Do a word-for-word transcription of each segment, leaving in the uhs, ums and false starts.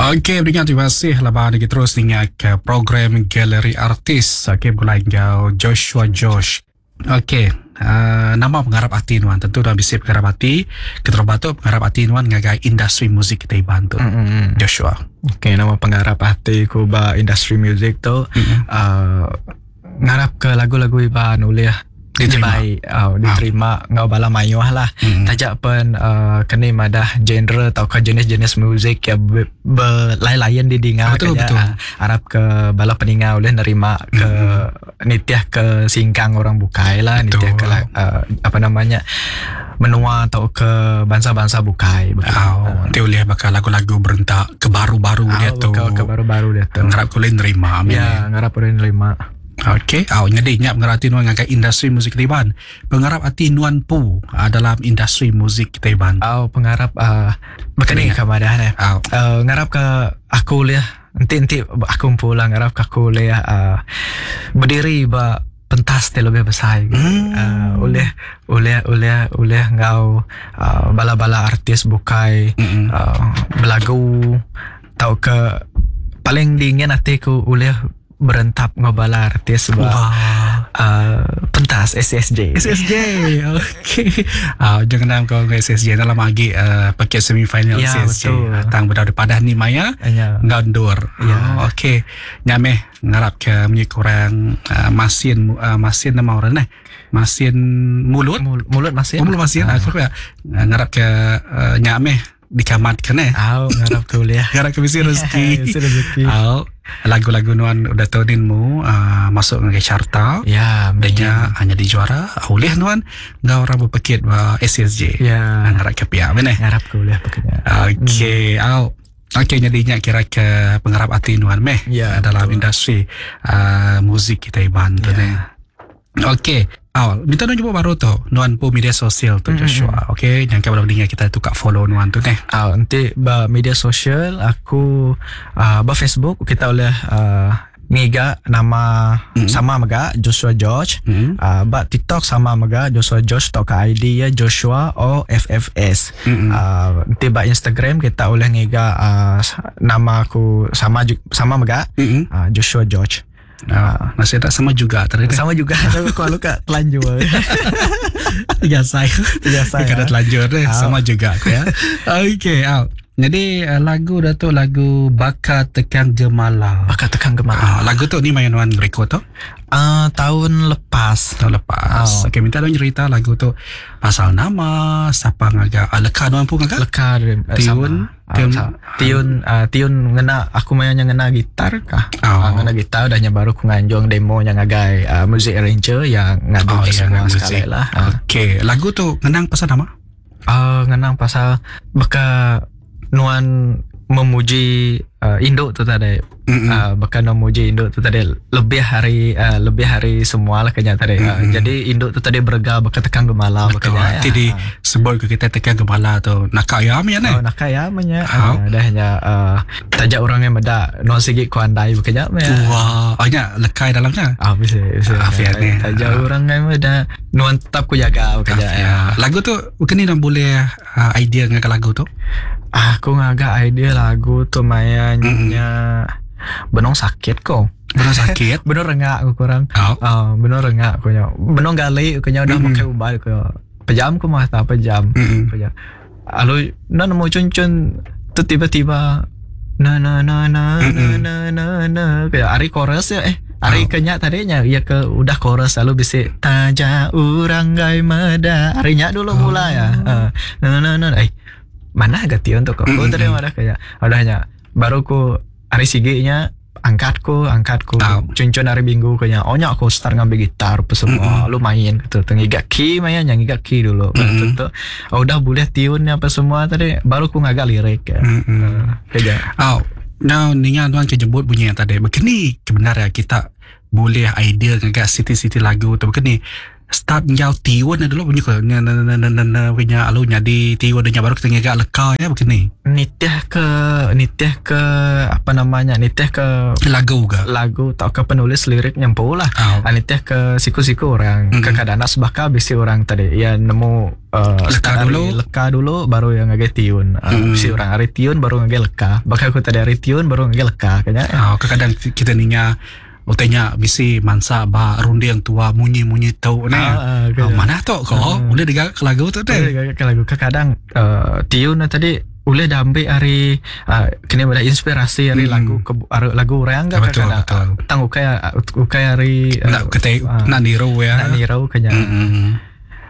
Okey, beringat terima kasih laban lagi terus ingat ke program Galeri Artis. Okey, mulai enggau Joshua George. Okey, uh, nama pengarap ati nuan tentu dah bisi pengarap ati. Keterubah tu pengarap ati nuan ngagai industri muzik kita Iban tu. Mm-mm. Joshua. Okey, nama pengarap ati ku ba industri muzik tu Mm-mm. uh, ngarap ke lagu-lagu Iban ulih Diterima. Baik, oh, diterima ngau bala mayuh lah. Mm-mm. Tajak pen uh, keni madah genre atau ke jenis-jenis muzik yang be, berlain-lain didinga Betul, kenya, betul. ah, harap ke bala peninga boleh nerima ke nitiah ke singkang orang bukai lah, Betul. nitiah ke uh, apa namanya menua atau ke bangsa-bangsa bukai begitu. Oh, nanti boleh bakal lagu-lagu berentak ke baru-baru Ah, dia tu. ke, ke baru-baru dia tu. Ngarap boleh nerima. Amin. Ya, ngarap boleh nerima. Okey, oh, jadi nyap pengarap ati nuan ngagai industri muzik kita Iban. Pengarap ati nuan pu ah, dalam industri muzik kita Iban. Oh, pengarap uh, berkeni ke madah ne. Oh, Uh, ngarap ke aku liah nanti nanti aku pulang ngarap ke aku liah uh, berdiri ba pentas ti lebih besar gitu. Hmm. Uh, oleh oleh oleh oleh ngau uh, bala-bala artis bukai Mm-mm. uh, belagu tau ke paling dingin hati ku oleh berentap ngau bala artis ba Wah. uh, pentas S S J. S S J. Okey. Ah, jangan nam kau dengan S S J dalam lagi uh, paket semifinal Ya, S S J. betul. Tang berada padah ni Maya. Ya. Ngandur. Ya. Oh, okey. Nyameh ngarap ke munyi kurang uh, masin uh, masin nama orang eh. Masin mulut. Mul- mulut masin. Oh, mulut masin. Ah. Aku ya. Ngarap ke uh, nyameh dikamat kene. Au ngarap ke uliah. Ngarap ke bisi rezeki. Bisi rezeki. Au lagu-lagu nuan udah tahunin mu uh, masuk ngagai carta. Ya, Danya hanya di juara oleh nuan ngau orang berpekit ba S S J. Ya. Ngarap ke pihak mana? Ngarap ke uliah peketnya. Okey, au. Okey, jadinya kira ke pengarap ati nuan meh Ya, dalam betul. industri uh, muzik kita Iban tu Ya. ne. Okey. Awal, minta nuan jumpa baru tu, nuan pun media sosial tu Mm-mm. Joshua. Okey, jangan kalau dengar kita tukar follow nuan tu neh. Ah, nanti ba media sosial aku uh, ba Facebook kita oleh uh, ngiga nama Mm. sama mega Joshua George. Hmm. Uh, ba TikTok sama mega Joshua George tau ke I D ya Joshua O F F S. Mm-mm. Uh, nanti ba Instagram kita oleh ngiga uh, nama aku sama sama mega Mm-mm. uh, Joshua George. Ah, masih tak sama juga tadi. Sama juga tapi aku luka telanjur. Biasa. Biasa, Kena ya. telanjur deh, Ah. sama juga aku ya. Okey, ah. Jadi lagu dah tu lagu Bakar Tekang Gemala. Bakar Tekang Gemala. Ah, lagu tu ni main nuan record tu Uh, tahun lepas. tahun lepas. Oh. Okey, minta dong cerita lagu tu pasal nama, siapa ngagak, ah, leka nuan pun ngagak? Leka eh, Tiun, sama. tiun. Ah, tiun uh, tiun ngena aku mainnya ngena gitar kah? Oh. Ah, ngena gitar udahnya baru ku nganjung demo yang ngagai uh, music arranger yang ngadu Oh, oh, ya, semua muzik. sekali lah. Ah. Okey, lagu tu ngenang pasal nama? Uh, ngenang pasal beka nuan memuji uh, induk tu tadi. Mm-mm. Uh, bahkan memuji induk tu tadi lebih hari uh, lebih hari semua lah kayaknya tadi. Uh, Mm-mm. jadi induk tu tadi berga beka tekang gemala Betul. bekanya. Nanti di sebut ke kita tekan gemala tu. Nakak ya amnya Oh, ne. nak kaya menya. Oh. Uh, dah nya uh, tajak orang yang meda non sigi ku andai bekanya menya. Wah, oh nya lekai dalamnya. Ah, bisa, bisa. Ah, fiat ni. Tajak Ah. orang yang meda nuan tetap ku jaga bekanya. Ya. Lagu tu bukan ni dah boleh uh, idea dengan lagu tu. Aku ngagak idea lagu tu mayanya benong sakit kok. Benar sakit. Benong rengak aku kurang. Oh. Ah, benong rengak aku nya. Benong gali aku nya udah Mm-mm. pakai ubat aku. Pejam aku mah tak pejam. Mm-mm. Pejam. Lalu na nemu cun-cun tu tiba-tiba na na na na na Mm-mm. na na na kayak ari chorus ya eh ari Oh. kenya tadinya ya ke udah chorus lalu bisa taja urang gai meda arinya dulu Oh. mulai ya uh, na na na eh mana agak tion tuh kok Mm-mm. tadi mana kayak udahnya baru ku ari siginya angkatku angkatku Tahu. cuncun hari minggu kayaknya oh nya aku start ngambil gitar apa semua lu main gitu tuh ngigak key main yang ngigak key dulu Mm-mm. Tuh, tuh. Oh, udah boleh tiunnya apa semua tadi baru ku ngagak lirik ya Mm-mm. kayak Oh, now ningan tuan kejemput bunyi yang tadi. Begini kebenaran kita boleh idea ngagak siti-siti lagu tu. Begini Start ngau tiun dulu punya ke na na na na na punya alu nyadi tiun nya baru kita ngiga leka ya begini. Nitih ke nitih ke apa namanya nitih ke lagu ke lagu atau ke penulis lirik nyempu lah. Oh. Nitih ke siku-siku orang Mm-mm. mm-hmm. Kadang sebaka bisi orang tadi ya nemu uh, Leka start dulu. ari leka dulu baru yang ngagai tiun. Uh, Mm. Bisi orang ari tiun baru ngagai leka. Bakal aku tadi ari tiun baru ngagai leka kayaknya. Oh, kadang kita ninga utainya bisi mansa ba runding tua munyi-munyi tau ne. Ah, ah, Oh, mana tu ko Ah. boleh digaga ke lagu tu Boleh deh. digaga ke lagu kadang uh, tiun na tadi boleh diambil hari uh, kena ada inspirasi hari Hmm. lagu ke, hari lagu orang kan Betul, kadang betul. tang ukai ukai hari uh, Nak kita ah, nak niru ya. nak niru kenya Mm-mm.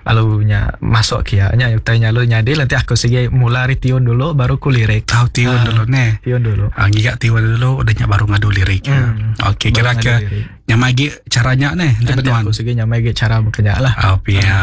lalu nya masuk kia nya utai nya lu nyadi nanti aku segi mula hari tiun dulu baru ku lirik Tahu tiun Ah. dulu ne. tiun dulu. Ah, ngiga tiun dulu udahnya baru ngadu lirik. Hmm. Okey, kira Baru ke ngadu lirik. nyamai gi caranya ne nanti Nanti betuan. aku segi nyamai ge cara bekerja lah. Oh, ya.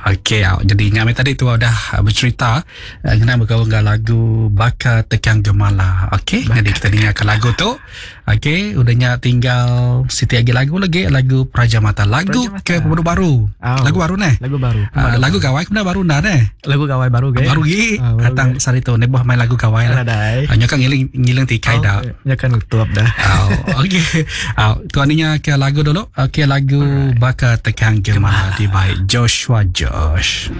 Okey, ah, jadi nyamai tadi tu udah ah, bercerita ah, kena bergaul dengan lagu Baka Tekang Gemala. Okey, jadi kita dengarkan lagu tu. Okey, udahnya tinggal siti lagi lagu lagi lagu Praja Mata. Lagu Praja Mata. ke pemuda baru. Oh. Lagu baru ne. Lagu baru. Ah, lagu gawai kemudian baru dah ne. Lagu gawai baru ge. Baru gi Ah, baru datang sari tu ne buah main lagu gawai lah. Nadai. Ah, nya kan ngiling ngiling tikai dah. Ya kan tutup dah. Oh, okey. Oh, tuan ni ke lagu dulu. Okey, lagu Baka Tekang Gemala di by Joshua Josh.